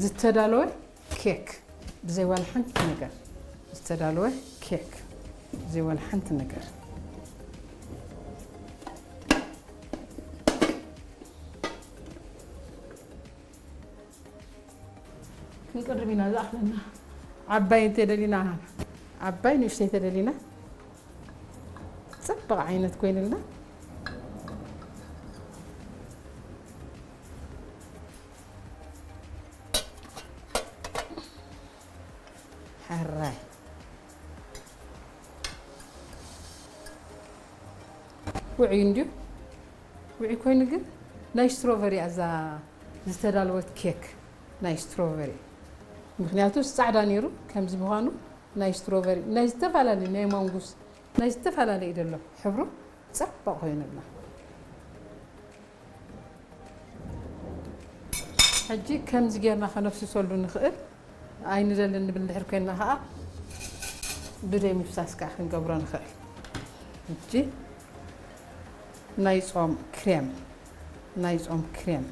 ዝተዳለወ ኬክ ብዘይ ዋላ ሓንቲ ነገር። ዝተዳለወ ኬክ ብዘይ ዋላ ሓንቲ ነገር። ክንቅርብ ኢና ዝኣኽለና። ዓባይ እንተደሊና፣ ዓባይ ንእሽተይ ተደሊና፣ ጽብቕ ዓይነት ኮይንልና። ሕራይ። ውዑይ እንድዩ። ውዑይ ኮይኑ ግን ናይ ስትሮቨሪ እያ እዛ ዝተዳለወት ኬክ፣ ናይ ስትሮቨሪ። ምኽንያቱ ጻዕዳ ነይሩ፣ ከምዚ ምዃኑ ናይ ስትሮቨሪ፣ ናይ ዝተፈላለዩ፣ ናይ ማንጉስ፣ ናይ ዝተፈላለዩ እዩ ዘሎ ሕብሩ። ጽቡቕ ኮይኑልና። ሕጂ ከምዚ ጌርና ከነፍስሰሉ ንኽእል። ኣይንደልን ንብል እንድሕር ኮይንና ኸዓ ብደይ ምፍሳስ ከዓ ክንገብሮ ንኽእል። ሕጂ ናይ ጾም ክሬም፣ ናይ ጾም ክሬም፣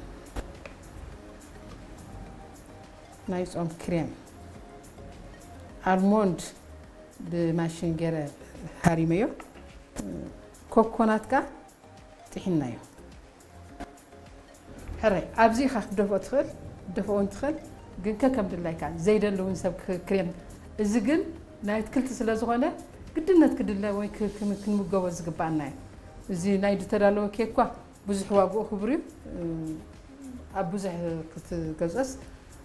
ናይ ጾም ክሬም ኣልሞንድ ብማሽን ገይረ ሃሪመዮ። ኮኮናት ከዓ ጥሒናዮ። ሕራይ፣ ኣብዚ ኢኻ ክትደፍኦ ትኽእል፣ ክትደፍኦ እውን ትኽእል፣ ግን ከከም ድላይካ። ዘይደሊ እውን ሰብ ክ-፣ ክሬም። እዚ ግን ናይ ኣትክልቲ ስለ ዝኾነ ግድነት ክድለ ወይ ክ-፣ ክን-፣ ክንምገቦ ዝግባኣና እዩ። እዚ ናይ ዝተዳለወ ኬክ እኳ ብዙሕ ዋግኡ ክቡር እዩ። ኣብ ብዙሕ ክትገዝኦስ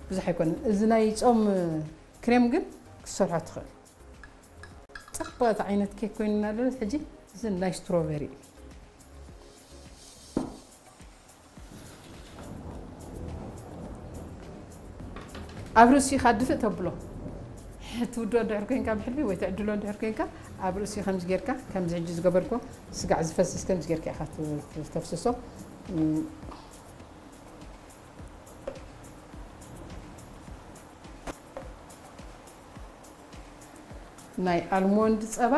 ብዙሕ ኣይኮነን። እዚ ናይ ጾም ክሬም ግን ክትሰርሖ ትኽእል። ጽብቕቲ ዓይነት ኬክ ኮይኑና ኣሎ። ሕጂ እዚ ናይ ስትሮቨሪ እዩ። ኣብ ርእሲኻ ድፍእ ተብሎ። ትውድኦ እንድሕር ኮይንካ ብሕልሚ ወይ ትዕድሎ እንድሕር ኮይንካ፣ ኣብ ርእሲ ከምዚ ጌርካ፣ ከምዚ ሕጂ ዝገበርኮ ስጋዕ ዝፈስስ ከምዚ ጌርካ ኢኻ ት-፣ ት-፣ ተፍስሶ። እም፣ ናይ ኣልሞንድ ጸባ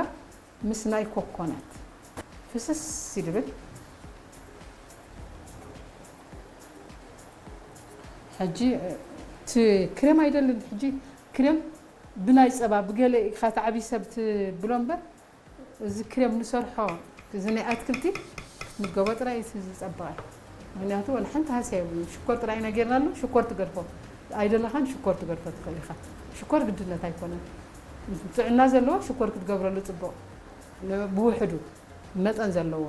ምስ ናይ ኮኮናት ፍስስ ይድብል። ሕጂ፣ እቲ ክሬም ኣይደልን። ሕጂ ክሬም ብናይ ጸባ ብገለ ኢኻ ትዓብይ ሰብ ትብሎ እምበር፣ እዚ ክሬም ንሰርሖ፣ እዚ ናይ ኣትክልቲ ንገቦ ጥራይ እዩ ዝጸብቐ። ምኽንያቱ ወላ ሓንቲ ሃስያ የብሉን። ሽኮር ጥራይ ኢና ጌርናሉ፣ ሽኮር ትገድፎ። ኣይደለኻን ሽኮር ትገድፎ ትኽእል ኢኻ። ሽኮር ግድነት ኣይኮነን። ጥዕና ዘለዎ ሽኮር ክትገብረሉ ጽቡቕ። ን-፣ ብውሕዱ መጠን ዘለዎ።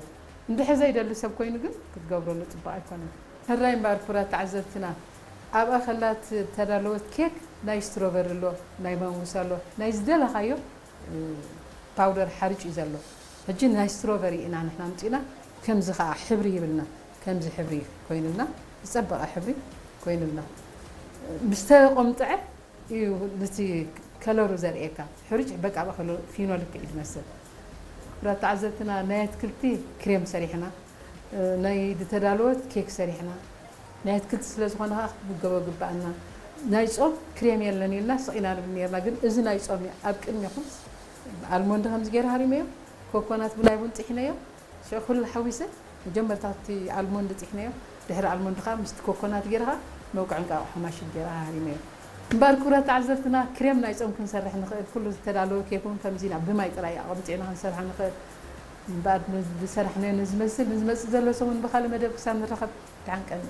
እንድሕር ዘይደሊ ሰብ ኮይኑ ግን ክትገብረሉ ጽቡቕ ኣይኮነን። ሕራይ እምበኣር ክቡራት ተዓዘብትና፣ ኣብኣ ከላ እተዳለወት ኬክ ናይ ስትሮቨሪ ኣሎ፣ ናይ ማንጉስ ኣሎ፣ ናይ ዝደለኻዮ እ፣ ፓውደር ሓርጭ እዩ ዘሎ። ሕጂ ናይ ስትሮቨሪ ኢና ንሕና ኣምጺእና፣ ከምዚ ኸኣ ሕብሪ ይብልና፣ ከምዚ ሕብሪ ኮይኑልና፣ ዝጸበቐ ሕብሪ ኮይኑልና። ምስ ተቆምጠዐ እዩ ነቲ ከለሩ ዘርእየካ። ሕርጭ በቃ ብኸሎ ፊኖ ልክዕ እዩ ዝመስል። ክቡራት ተዓዘብትና፣ ናይ ኣትክልቲ ክሬም ሰሪሕና፣ እ፣ ናይ ዝተዳለወት ኬክ ሰሪሕና። ናይ ኣትክልቲ ስለ ዝኾነ ኸዓ ክትምገቦ ግባኣና። ናይ ጾም ክሬም የለን ኢልና ስቕ ኢና ንብል ነርና፣ ግን እዚ ናይ ጾም እዩ። ኣብ ቅድሜኹም ኣልሞንድ ከምዚ ገይረ ሃሪመዮ፣ ኮኮናት ብናይ ቡን ጥሒነዮ። ሽዑ ኩሉ ሓዊሰ መጀመርታ እቲ ኣልሞንድ ጥሒነዮ፣ ድሕሪ ኣልሞንድ ኸዓ ምስቲ ኮኮናት ገይረ ኸዓ መውቅዒ እንቃቑሖ ማሽን ገይረ ሃሪመዮ። እምበኣር ክቡራት ተዓዘብትና፣ ክሬም ናይ ጾም ክንሰርሕ ንኽእል፣ ኩሉ ዝተዳለወ ኬክ እውን ከምዚ ኢና ብማይ ጥራይ ኣቐምጢዕና ክንሰርሖ ንኽእል። እምበኣር ዝሰራሕናዮ ንዝመስል፣ ንዝመጽእ ዘሎ ሰሙን ብኻልእ መደብ ክሳብ ንራኸብ፣ ደሓን ቀኒ።